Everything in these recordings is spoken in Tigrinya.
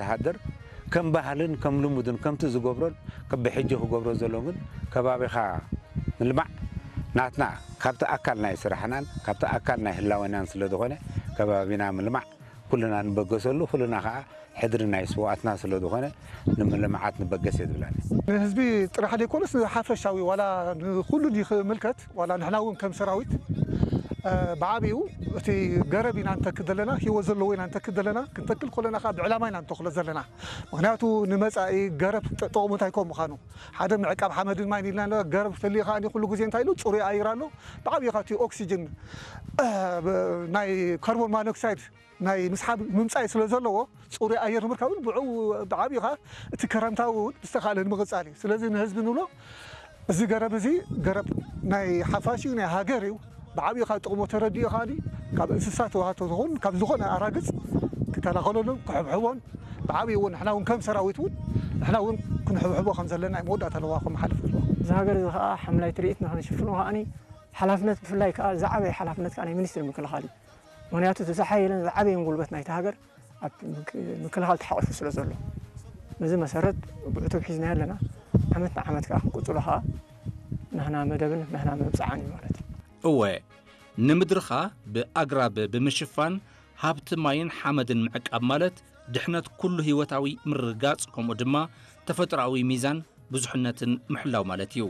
ተሃደር ከም ባህልን ከም ልሙድን ከምቲ ዝገብሮን ከብሕጂ ክገብሮ ዘሎ ግን ከባቢኻ ምልማዕ ናትና ካብቲ ኣካል ናይ ስራሕናን ካብቲ ኣካል ናይ ህላወናን ስለ ዝኾነ ከባቢና ምልማዕ ኩልና ንበገሰሉ ኩልና ከዓ ሕድሪ ናይ ስውኣትና ስለ ዝኾነ ንምልምዓት ንበገስ እየ ዝብላኒ። ንህዝቢ ጥራሕ ዘይኮነስ ንሓፈሻዊ ዋላ ንኩሉ ይምልከት ዋላ ንሕና እውን ከም ሰራዊት ብዓብኡ እቲ ገረብ ኢና ንተክል ዘለና ህይወት ዘለዎ ኢና ንተክል ዘለና ክንተክል ከለና ከዓ ብዕላማ ኢና ንተክሎ ዘለና። ምክንያቱ ንመፃኢ ገረብ ጥቕሙ እንታይ ከም ምዃኑ ሓደ ምዕቃብ ሓመድን ማይን ኢልና ገረብ ተልዩ ከዓ ኩሉ ግዜ እንታይ ኢሉ ፅሩይ ኣየር ኣሎ። ብዓብኡ ከዓ እቲ ኦክሲጅን ናይ ካርቦን ማኖክሳይድ ናይ ምስሓብ ምምፃእ ስለ ዘለዎ ፅሩይ ኣየር ንምርካብ እውን ብዕኡ ብዓብኡ ከዓ እቲ ክረምታዊ እውን ብዝተኻእለ ንምቕፃል እዩ። ስለዚ ንህዝቢ ንብሎ እዚ ገረብ እዚ ገረብ ናይ ሓፋሽ እዩ ናይ ሃገር እዩ። ብዓብኡ ካብ ጥቕሙ ተረዲኡ ከዓ ካብ እንስሳ ተዋህቶ ትኹን ካብ ዝኾነ ኣራግፅ ክከላኸለሉን ክሕብሕቦን ብዓብኡ እውን ንሕና እውን ከም ሰራዊት እውን ንሕና እውን ክንሕብሕቦ ከም ዘለና እዩ መወዳእታ ኣለዋ ከም ሓለፍ ዘለዎ። እዚ ሃገር እዚ ከዓ ሓምላይ ትርኢት ንክንሽፍኖ ከዓ ሓላፍነት ብፍላይ ከዓ ዝዓበየ ሓላፍነት ከዓ ናይ ሚኒስትሪ ምክልኻል እዩ። ምክንያቱ እቲ ዝሓየለን ዝዓበየን ጉልበት ናይቲ ሃገር ኣብ ምክ- ምክልኻል ተሓቂፉ ስለ ዘሎ ነዚ መሰረት ብዕቱብ ሒዝና ኣለና። ዓመት ንዓመት ከዓ ክንቅፅሎ ከዓ ናህና መደብን ናህና መብፅዓን እዩ ማለት እዩ። እወ ንምድርኻ ብኣግራብ ብምሽፋን ሃብቲ ማይን ሓመድን ምዕቃብ ማለት ድሕነት ኩሉ ህይወታዊ ምርግጋፅ ከምኡ ድማ ተፈጥሮኣዊ ሚዛን ብዙሕነትን ምሕላው ማለት እዩ።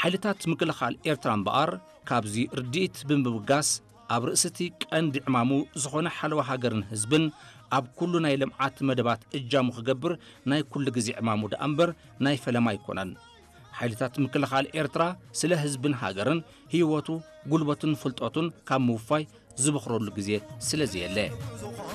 ሓይልታት ምክልኻል ኤርትራ እምበኣር ካብዚ ርድኢት ብምብጋስ ኣብ ርእሲ እቲ ቀንዲ ዕማሙ ዝኾነ ሓለዋ ሃገርን ህዝብን ኣብ ኩሉ ናይ ልምዓት መደባት እጃሙ ክገብር ናይ ኩሉ ግዜ ዕማሙ ደኣ እምበር ናይ ፈለማ ኣይኮነን። ሓይልታት ምክልኻል ኤርትራ ስለ ህዝብን ሃገርን ህይወቱ፣ ጉልበቱን ፍልጠቱን ካብ ምውፋይ ዝበኽረሉ ግዜ ስለ ዘየለ።